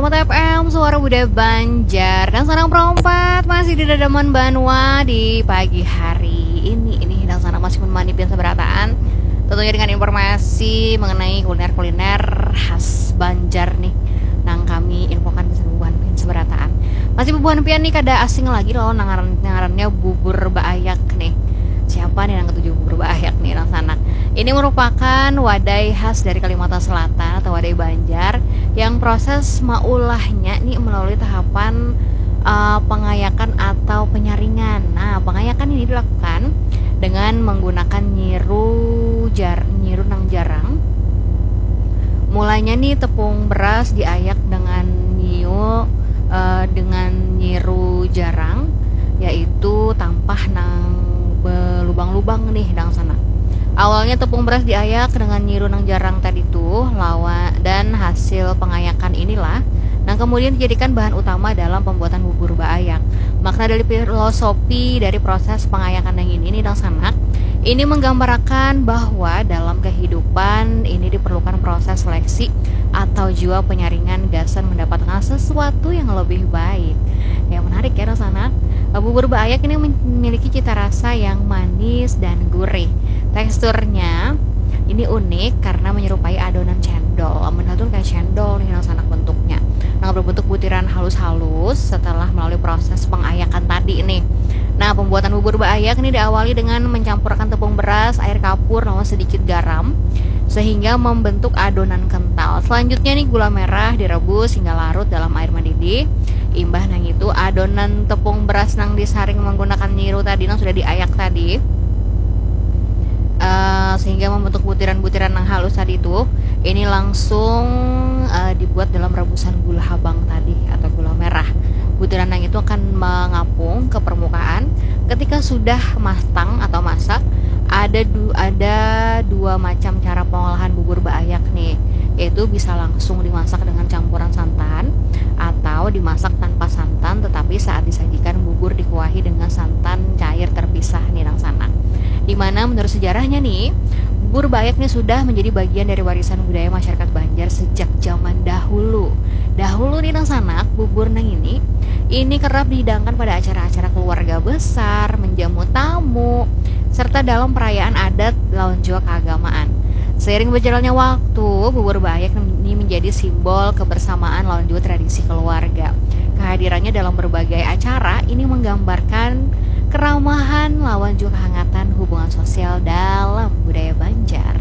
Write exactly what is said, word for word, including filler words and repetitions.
F M, Suara Budaya Banjar. Nang sanak perompat masih di dadaman banua di pagi hari ini. Ini nang sanak masih menemani pian sabarataan. Tentunya dengan informasi mengenai kuliner-kuliner khas Banjar nih. Nang kami infokan di bubuhan pian sabarataan. Masih bubuhan pian nih kada asing lagi lawan ngaran, ngarannya bubur baayak nih. Siapa nih nang ketuju bubur baayak nih nang sanak? Ini merupakan wadai khas dari Kalimantan Selatan atau wadai Banjar yang proses maulahnya nih melalui tahapan uh, pengayakan atau penyaringan. Nah, pengayakan ini dilakukan dengan menggunakan nyiru jar nyiru nang jarang. Mulanya nih tepung beras diayak dengan nyiu uh, dengan nyiru jarang, yaitu tampah nang belubang-lubang nih nang sanak. Awalnya tepung beras diayak dengan nyiru nang jarang tadi tuh lawan dan hasil pengayakan inilah nang kemudian dijadikan bahan utama dalam pembuatan bubur baayak. Makna dari filosofi dari proses pengayakan yang ini nih nang sanak, ini menggambarkan bahwa dalam kehidupan ini diperlukan proses seleksi atau juga penyaringan gasan mendapatkan sesuatu yang lebih baik. Yang menarik ya nang sanak, bubur baayak ini memiliki cita rasa yang manis dan gurih. Teksturnya ini unik karena menyerupai adonan cendol. Amun tuh kayak cendol nih nang sanak bentuknya. Nah, berbentuk butiran halus-halus setelah melalui proses pengayakan tadi nih. Nah, pembuatan bubur baayak ini diawali dengan mencampurkan tepung beras, air kapur, lawan sedikit garam sehingga membentuk adonan kental. Selanjutnya nih gula merah direbus hingga larut dalam air mendidih. Imbah nang itu adonan tepung beras nang disaring menggunakan nyiru tadi nang sudah diayak tadi uh, sehingga membentuk butiran-butiran yang halus tadi itu ini langsung uh, dibuat dalam rebusan gula habang tadi atau gula merah. Butiran yang itu akan mengapung ke permukaan. Ketika sudah matang atau masak, ada du ada dua macam cara pengolahan bubur baayak nih, yaitu bisa langsung dimasak dengan campuran santan atau dimasak tanpa santan, tetapi saat disajikan bubur dikuahi dengan santan cair terpisah nih nang sanak. Dimana menurut sejarahnya nih, bubur baayak nih sudah menjadi bagian dari warisan budaya masyarakat Banjar sejak zaman dahulu. Dahulu nih nang sanak, bubur nang ini ini kerap dihidangkan pada acara-acara keluarga besar, menjamu tamu, serta dalam perayaan adat lawan juga keagamaan. Seiring berjalannya waktu, bubur baayak ini menjadi simbol kebersamaan lawan juga tradisi keluarga. Kehadirannya dalam berbagai acara ini menggambarkan keramahan lawan juga kehangatan hubungan sosial dalam budaya Banjar.